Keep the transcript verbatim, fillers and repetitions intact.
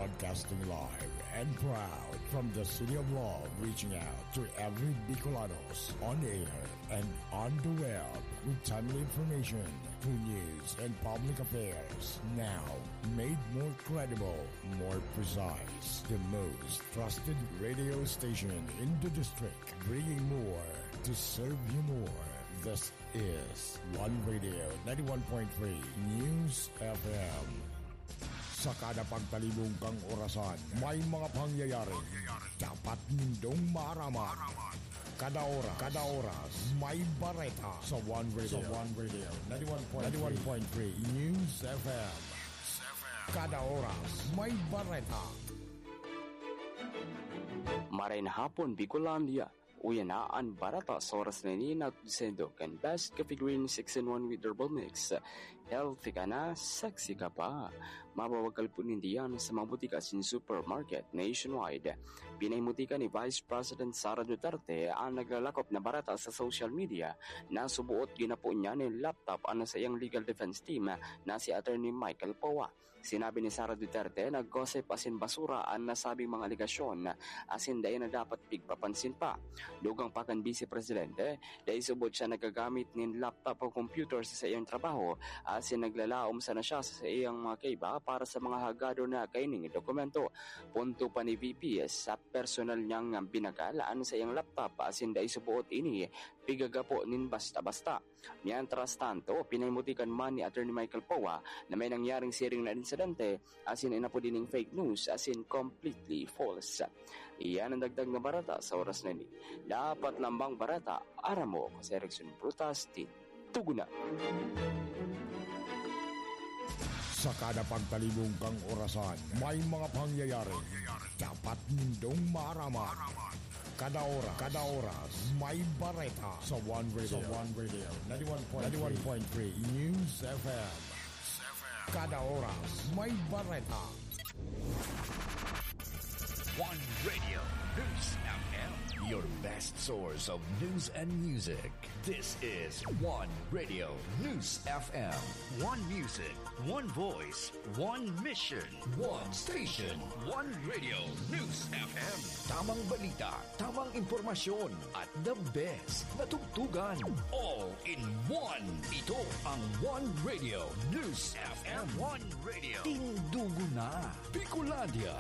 Broadcasting live and proud from the City of Love, reaching out to every Bicolanos on air and on the web with timely information, true news, and public affairs. Now, made more credible, more precise. The most trusted radio station in the district, bringing more to serve you more. This is One Radio ninety-one point three News F M. Sa kada pagtalibong kang orasan, may mga pangyayari dapat nindong maaraman. Kada oras, kada oras, may bareta sa One Radio. Sa One Radio ninety-one point three News F M. Kada oras, may bareta. Maray na hapon, Bicolandia. Uya na an bareta sa oras na ini, na sendo kan Best Coffee Green six-in-one with Herbal Mix. Healthy ka na, sexy ka pa. Mabawag kalpon ninda yan sa mga butika asin supermarket nationwide. Pinahimutika ni Vice President Sara Duterte an naglalakop na bareta sa social media na suboot ginapo niya nin laptop an saiyang legal defense team na si Attorney Michael Poa. Sinabi ni Sara Duterte na gossip asin basura an nasabing mga alegasyon asin dai na dapat pigpapansin pa. Dugang pa kan Bise Presidente, dai subot siya nagagamit nin laptop o computer sa saiyang trabaho asin naglalaom sana siya sa saiyang mga kaiba para sa mga hagadon na kaining dokumento. Punto pa ni V P, sa personal niyang binagal an saiyang laptop asin dai subot ini pigagapo nin basta-basta. Mientras tanto, pinahimuti kan man ni Attorney Michael Poa na may nangyaring siring na insidente, asin inapod ining fake news, asin completely false. Iyan ang dagdag na bareta sa oras na ini. Dapat lambang bareta, aram mo, ako si Erickson Brutas, Tin Tugunan. Sa kada pagtalibong kang orasan, may mga pangyayari dapat nindong maaraman. Kada oras, kada oras, may bareta sa One Radio. Sa One Radio, ninety-one point three. ninety-one point three News F M. Kada oras, may bareta. One Radio News F M, your best source of news and music. This is One Radio News F M. One music, one voice, one mission, one station. One Radio News F M. Tamang balita, tamang impormasyon, at the best na tugtugan. All in one. Ito ang One Radio News F M. One Radio. Tindugo na, Bicolandia.